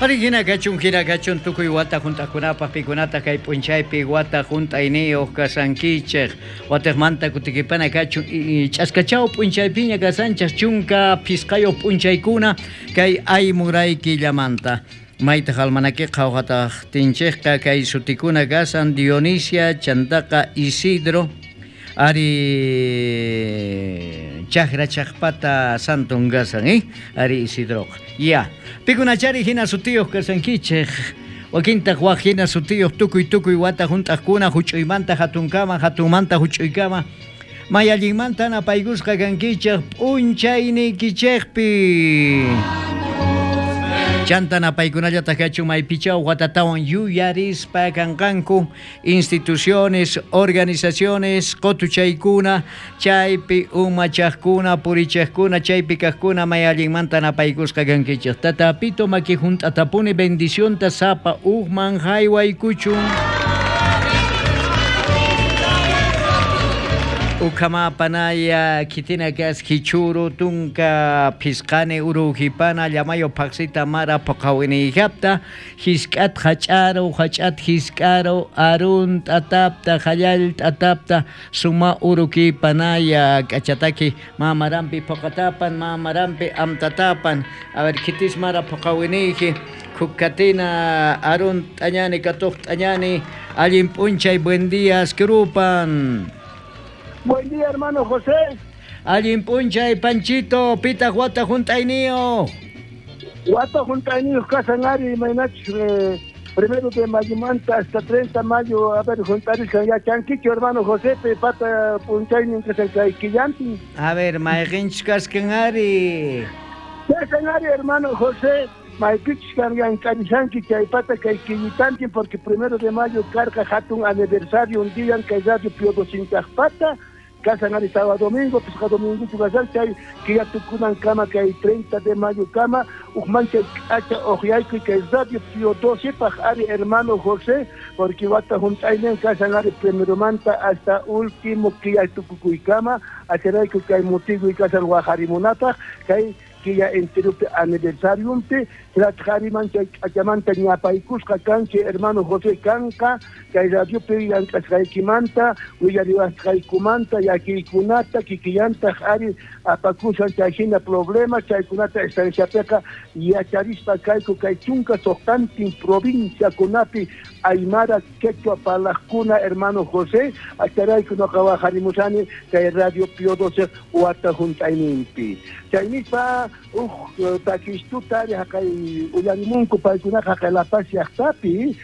Ari hina kachun, hina kachun tukuy wata hunt'aqkunapaq pikunataq kay p'unchaypi wata hunt'ayniyuq kasankichej. Watiqmanta kutikipana kachun ch'askachaw p'unchaypiña kasanchej 15 p'unchaykuna kay aymuray killamanta. Maytaq almanakiqa uqataqtinchejqa kay sutikuna kasan Dionisia, chantaqa Isidro, ari chakra chaqpata santon kasan, ari Isidroqa. Ya, pikunachari hina sutiyuq kasankichej, wakintaq waj hina sutiyuq tukuy tukuy wata hunt'aqkuna huch'uymanta hatunkama, hatunmanta huch'uykama, may allinmanta napaykusqa kankichej p'unchayniykichejpi. Chanta napaykunallataq kachun maypichaw watatawan yuyarispa kanqanku instituciones, organizaciones, qotuchaykuna, chaypi umachaqkuna, purichaqkuna, chaypi kaqkuna may allinmanta napaykusqa kankichej. Tata Pito maki hunt'atapuni bendicionta sapa ujman haywaykuchun. Ukhama panaya kitina kas kichuru tunka pisqani urujipana llamayo phaqsita mara puqawiniyjapta hisk'at hach'aru hach'at hisk'aru arun t'atapta hallal t'atapta suma uruki panaya k'achataki mamarampi puqatapan mamarampi amtatapan. A ver, kitis mara puqawiniyji khukatina arun t'añani katuq t'añani allin p'unchay buen día askrupan. Buen día, hermano José. Allin p'unchay, Panchito, pitaq wata hunt'ayniyuq. Wata hunt'ayniyuq kasan ari, imaynachus 1 de mayomanta hasta 30 mayo, a ver, hunt'arisqan yachankichu, hermano José, pata p'unchaynin kasan kay killantin. A ver, mayqinchus kaskan ari. Kasan ari, hermano José, maypichus kan llank'arishanki chaypata kay killitantin, porque 1 de mayo karqa hatun aniversario un día kay radio Pío pata. Kasan ari sábado domingo, pisqa dominguchu kasan chay killa tukunan kama kay 30 de mayo kama, ujman chay k'acha uqyaykuy kay radio Pío 12 paj ari hermano José, porque wata hunt'aynin kasan ari primeromanta hasta último killa tukukuy kama, acharayku kay mutiguy kasan wajarimunapaj, kay killa enteropi aniversariumpi, tratjariman chay k'achamanta ñapaykusqa kanchi hermano José kanqa, kay radiopi llank'asqaykimanta, willariwasqaykumanta, llakiykunata, kikillantaq ari apakusan chay hina problemas, chaykunata estanciapiqa yacharispa kayku kay 16 provinciakunapi aymara quechua parlaqkuna hermano José, acharayku noqa wajarimusani kay radio Pío 12 wata hunt'ayninpi. Chaynispa uj takistuta ari haqay uyarimunku paykunaqa haqay La Paz llaqtapi,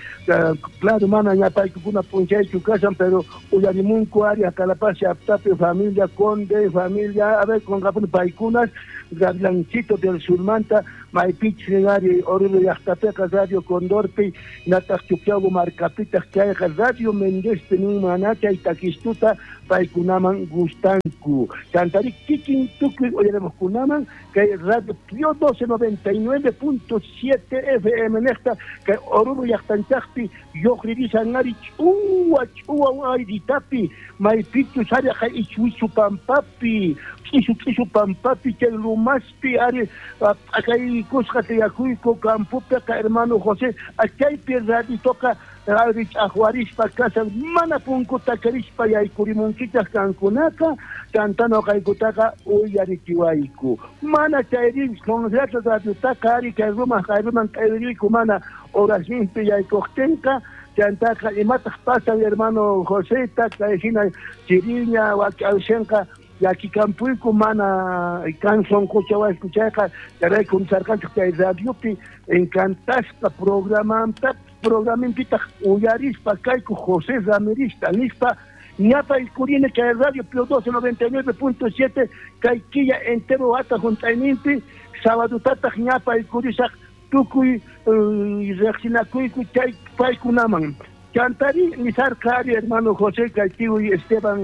claro mana ña paykuna p'unchaychu kasan, pero uyarimunku ari haqay La Paz llaqtapi familia Conde, familia, a ver, con paykunas Gavilancito del Surmanta, maypichus ari Oruro llaqtapiqa Radio Condorpi, nataq Chuquiago markapitaq chayqa Radio Méndezpi nin chay takistuta paykunaman gustanku. Chantari kikin tukuy uyarimuqkunaman kay Radio Pío 12 99.7 FM neqta kay Oruro llaqtanchaqpi lluqririsan ari ch'uwa ch'uwa ayritapi maypichus ari haqay ichwichu pampapi ch'isu ch'isu pampapi chay lumaspi ari p'akaykusqa tiyakuyku campopiqa hermano José, chaypi raditoqa ari ch'aqwarispa kasan mana punkuta karispa yaykurimunkichaq kankunaqa, chanta noqaykutaqa uyarichiwayku. Mana chayri Confianza radiotaqa ari kay ruman kay k'ayriyku mana horasninpi yaykuqtinqa, chantaqa imataq pasan hermano Joseta kay hina chiriña wak'awshanqa llakikampuyku mana kan sonqochawayku chayqa chayrayku nisarqanchik chay radiopi encantasqa programanta programinpitaq uyarispa kayku José Ramirista nispa ñapaykurina kay radio Pío 12 99.7 kay killa entero wata hunt'ayninpi sabadotataq ñapaykurisaq tukuy riqsinakuyku chay paykunaman. Chantari nisarqa ari hermano José kay tiuy Esteban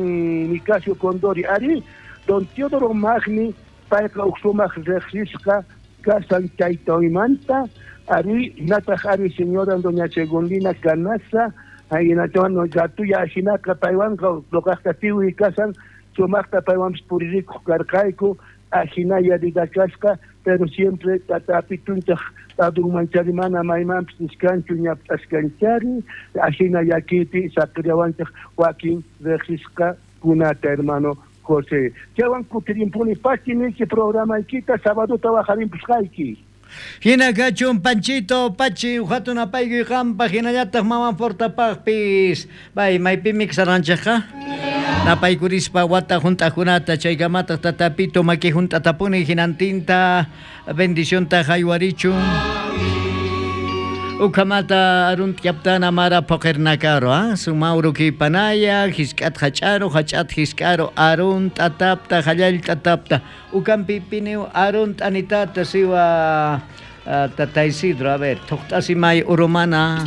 Nicasio Condori ari don Teodoro Magni payqa uj sumaq riqsisqa kasan chaytoymanta ari nataq ari señora doña Segundina Canaza aynachawan gatuya ajinaqa paywanqa luqaqta tiuy kasan sumaqta paywanpis puririkuq karqayku. Ajinaya vida kasqa, pero siempre tata Apitunchaj ladunmanchari mana maymanpis niskanchu ñap'askanchari, ajina llakiypi saqiriawanchaj wakin rejsisqakunata, hermano José. Chaywan kutirimpuni pachi niyki programaykita sabadota wajarimpusqayki. Jina kachun Panchito Pachi hatun apaykuy qampaq hinallataq maman Fortapaqpis. Bay maypimi kasarqanchikqa? Napaykurispa wata hunt'aqkunata chaykamataq tata Pito maki hunt'atapuni hinantinta bendicionta haywarichun. Ukhamata arunt yaptana mara poqirnakaro, ah? Sumauro kipanaya, hisk'at hach'aro, hach'at hisk'aro, arun t'atapta, hallall t'atapta. Ukampi piniu arun t'anitata siwa tata Isidro, a ver, thuqt'asimay urumana.